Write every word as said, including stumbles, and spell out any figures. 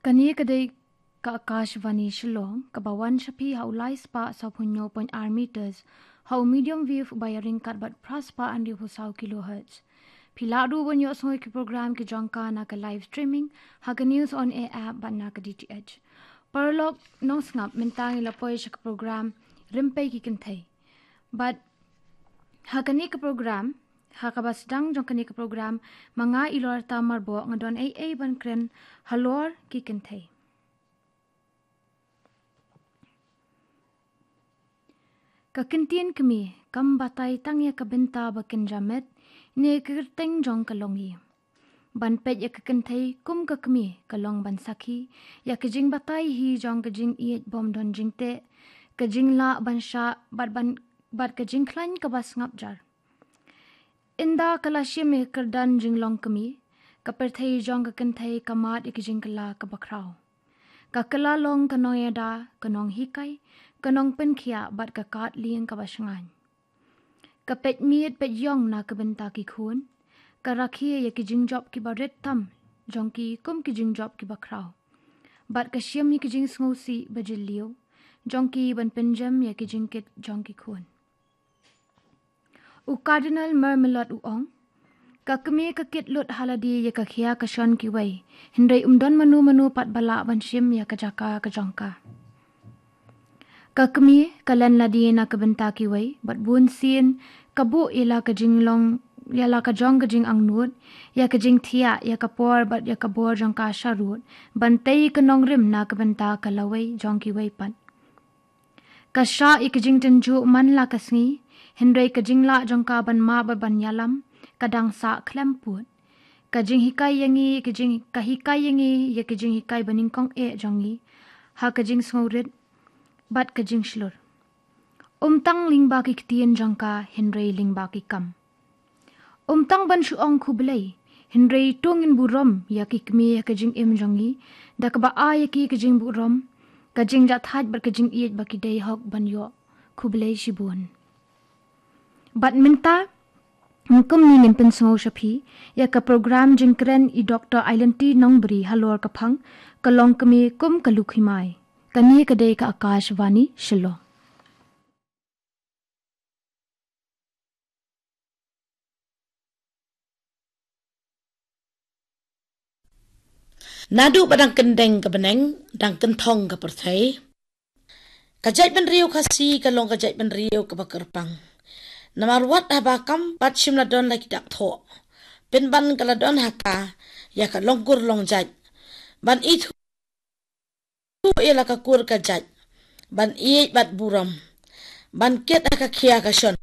Kane ka dei ka Akashvani Shillong, kaba wan sha phi ha u lai spah sawphew hynñiew point ar meters, ha u medium wave uba ïaryngkat bad phra spah hynriewphew saw kilohertz. Phi lah ruh ban ïohsngew ïa ki program ki jong ka na ka live streaming ha ka News on Air app bad na ka D T H. Paralok nongsngap, mynta ngi la poi sha ka program Rympei ki Kynthei. Bad ha kane ka program, ha kaba sdang jong kane ka program, ma nga Ilorta Marboh nga don ei ei ban kren halor ki kynthei. Ka kyntien kmie kam batai tang ïa ka bynta ba kynja met ne ka kyrteng jong ka longïing. Ban peit ïa ka kynthei kum ka kmie ka long ban sakhi ïa ka jingbatai hi jong ka jingïeit bym don jingteh, ka jinglah ban shah bad ban, bad ka jingkhlaiñ kaba sngap jar. Ynda ka la shim ïa ka kyrdan jinglong kmie, ka pyrthei jong ka kynthei ka mad ïa ka jingkylla kaba khraw. Ka kylla long ka nongïada, ka nonghikai, ka nongpynkhiah bad ka kad lieng kaba shngaiñ. Ka peit miet peit ïong na ka bynta ki khun, ka rakhe ïa ki jingjop kiba rit tam jong ki kum ki jingjop kiba khraw. Bad ka shim ïa ki jingsngewsih ba jylliew jong ki ban pynjem ïa ki jingkit jong ki khun. U Cardinal Mermelot u ong, ka kmie ka kit lut ha lade ïa ka khia ka shon kiwei, hynrei um don mano mano pat ba lah ban shim ïa ka jaka ka jong ka. Ka kmie ka len lade na ka bynta kiwei, bad bun sien ka buh ïa la ka jinglong, ïa la ka jong ka jingangnud, ïa ka jingthiah, ïa ka por bad ïa ka bor jong ka sharud, ban tei ka nongrim na ka bynta ka lawei jong kiwei pat. Ka shah ïa ka jingtynjuh man la ka sngi, hynrei ka jinglah jong ka ban map bad ban ïalam ka dang sah khlem pud. Ka jinghikai ïa ngi, ka jing, ka hikai ïa ngi ïa ka jinghikai banyngkong eh jong ngi ha ka jingsngewrit bad ka jingshlur. Um tang lyngba ki ktien jong ka, hynrei lyngba ki kam. Um tang ban shu ong khublei, hynrei to ngin burom ïa ki kmie ha ka jingim jong ngi da kaba ai ïa ki ka jingburom, ka jingjahthait bad ka jingïeit ba ki dei hok ban ïoh. Khublei shibun. Bad mynta, kum ngi ngin pynsngew sha phi ïa ka program jingkren i Doctor Ailanti Nongbri halor ka phang Ka Long Kmie kum ka Lukhi Mai. Kane ka dei ka Akashvani Shillong. Naduh ba dang kyndeng ka bneng, dang kynthong ka pyrthei, ka jaitbynriew Khasi ka long ka jaitbynriew kaba kyrpang. Namar wat haba kam pat shym la don la ki dak thoh, pynban ka la don ha ka ïa ka longkur longjait, ban ithuh ïa la ka kur ka jait, ban ïeit bad burom, ban kit ha ka khia ka shon,